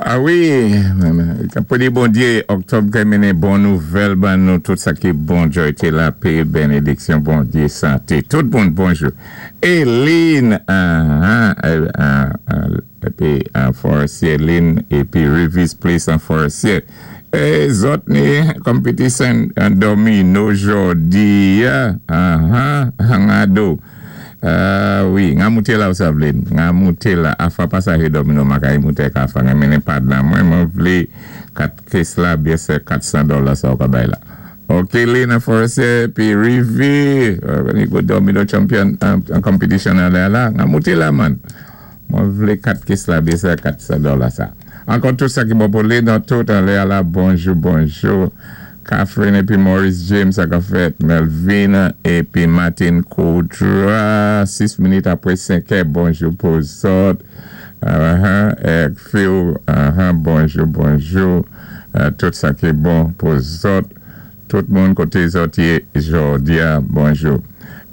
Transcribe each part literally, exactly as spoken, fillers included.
Ah wi, pou di Bondyé, òktòb ka mennen bon nouvèl ban nou, tout sa ki bon, jwayté, lapè, bénédiksyon, Bondyé, santé. Tout moun, bonjou. Eline, ah, ah, ah, épi an Forestier, Lynn, épi Rivis Place an Forestier. É zòt ni competition an domino jòdi, ah, ah, ah, Uh, wi, nga mouté la ou sa vlé, nga mouté la, afa pasaje domino makay mouté ka fa, nga mennen pad la, mwen mwen vlé kat kes la, byè sé kat san dola sa ou ka bay la. Ok, Lina Forestier, pi Rivi, uh, go domino champion an competition an la la, nga mouté la man. Mwen vlé kat kes la, byè sé kat san dola sa. Ankò tout sa ki bon pou li, nan tout an lè la, bonjou, bonjou. Catherine épi Maurice James sa ka fèt, Melvina épi Martin Koudra, sis minit apwé senk è, bonjou pou zòt. Uh-huh, ek Phil, uh-huh, bonjou, bonjou. Uh, tout sa ki bon pou zòt. Tout moun koté zòt yé jòdi a, bonjou.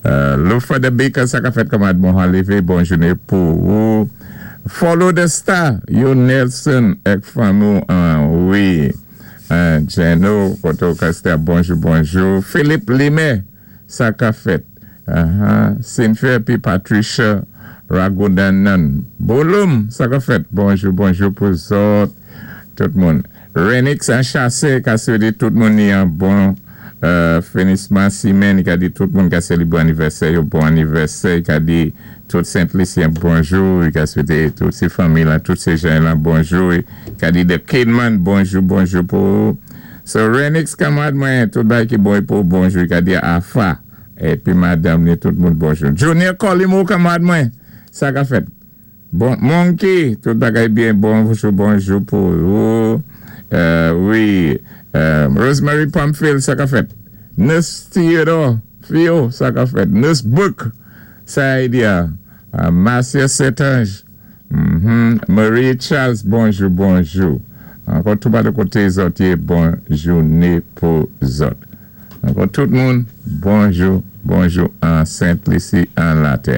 Uh, Lufa de Baker, sa ka fèt kanmad bon levé, bon jouné pou ou. Follow the star, yo Nelson, ek fanmi, uh, wi. Uh, Jeno, koto Castel, bonjou, bonjou. Philippe Limé, sa ka fèt. Uh-huh. Cynthia pi Patricia Ragodanan. Bolum, sa ka fèt. Bonjou, bonjou pou zòt. Tout moun. Renix an chasé, ka swété tout moun ni an bon euh, finisman simenn, ka di tout moun ka sélébré anivèsè, yo bon anivèsè, ka di tout Sent-Lisyen bonjou, ka swété tout sé fanmi la, tout sé jan la bonjou, ka di The Kidman bonjou, bonjou pou So Renix kanmad mwen, tout bay ki bon pou bonjou, ka di Afa, épi madanm ni tout moun bonjou. Junior Colimo kanmad mwen, sa ka fèt. Bon, Monkey, tout bagay byen, bonjou, bonjou pou ou. Euh, wi, euh, Rosemary Pamphile, sa ka fèt. Nurse Theodore, Theo, sa ka fèt. Nurse Book, sa y di a. Uh, Marcia Setange, mm -hmm. Marie Charles, bonjou, bonjou. Ankò tout pa de koté zòt yé, bon jouné pou zòt. Ankò tout moun, bonjou, bonjou an Sent-Lisi, an latè.